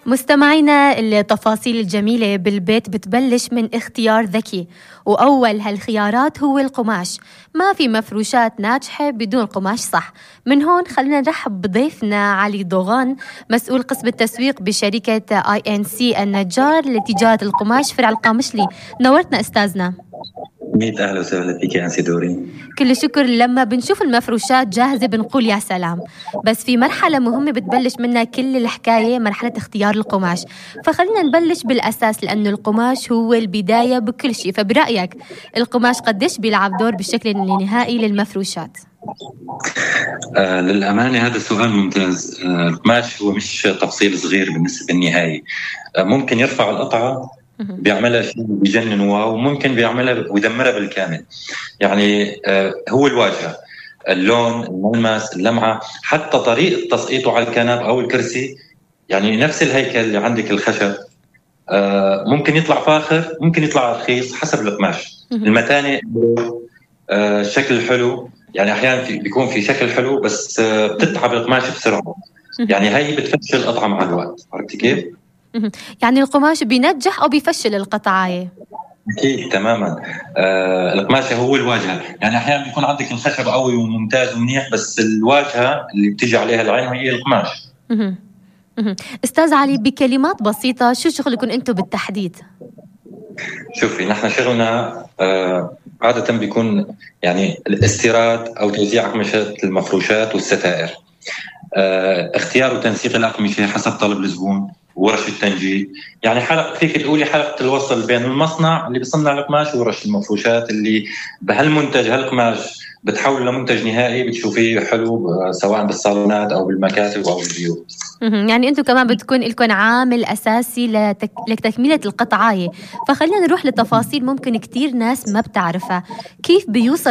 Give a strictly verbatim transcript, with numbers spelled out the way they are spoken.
مستمعينا، التفاصيل الجميلة بالبيت بتبلش من اختيار ذكي، وأول هالخيارات هو القماش. ما في مفروشات ناجحة بدون قماش صح. من هون خلينا نرحب بضيفنا علي ضوغان، مسؤول قسم التسويق بشركة آي إن سي النجار لتجارة القماش فرع القامشلي. نورتنا أستاذنا. ميت أهلا وسهلا فيك يا أنسي دورين. كل شكر. لما بنشوف المفروشات جاهزة بنقول يا سلام، بس في مرحلة مهمة بتبلش منها كل الحكاية، مرحلة اختيار القماش. فخلينا نبلش بالأساس، لأنه القماش هو البداية بكل شيء. فبرأيك القماش قديش بيلعب دور بالشكل النهائي للمفروشات؟ آه للأمانة هذا سؤال ممتاز. آه القماش هو مش تفصيل صغير بالنسبة للنهاية. آه ممكن يرفع القطعة بيعملها شيء بيجنن واو، وممكن بيعملها ويدمرها بالكامل. يعني آه هو الواجهة، اللون، الملمس، اللمعة، حتى طريقة تسقيطه على الكنب أو الكرسي. يعني نفس الهيكل اللي عندك الخشب آه ممكن يطلع فاخر، ممكن يطلع رخيص حسب القماش. المتانة، آه الشكل الحلو، يعني أحيانا في بيكون في شكل حلو بس آه بتتعب القماش بسرعة. يعني هاي بتفشل القطعة مع الوقت. عرفتي كيف؟ يعني القماش بينجح أو بيفشل القطعة؟ أكيد تماما. آه القماشة هو الواجهة. يعني أحيانا بيكون عندك الخشب قوي وممتاز ومنيح، بس الواجهة اللي بتيجي عليها العين هي القماش. أستاذ علي، بكلمات بسيطة شو شغلكم أنتم بالتحديد؟ شوفي، نحن شغلنا آه عادة بيكون يعني الاستيراد أو توزيع أقمشة المفروشات والستائر، آه اختيار وتنسيق الأقمشة حسب طلب الزبون، ورش التنجيد. يعني حلقة، فيك تقولي حلقة الوصل بين المصنع اللي بيصنع القماش ورش المفروشات اللي بهالمنتج هالقماش بتحول لمنتج نهائي بتشوفيه حلو سواء بالصالونات أو بالمكاتب أو بالبيوت. يعني أنتم كمان بتكون لكم عامل أساسي لتك... لتكملة القطعة. فخلينا نروح لتفاصيل ممكن كتير ناس ما بتعرفها. كيف بيوصل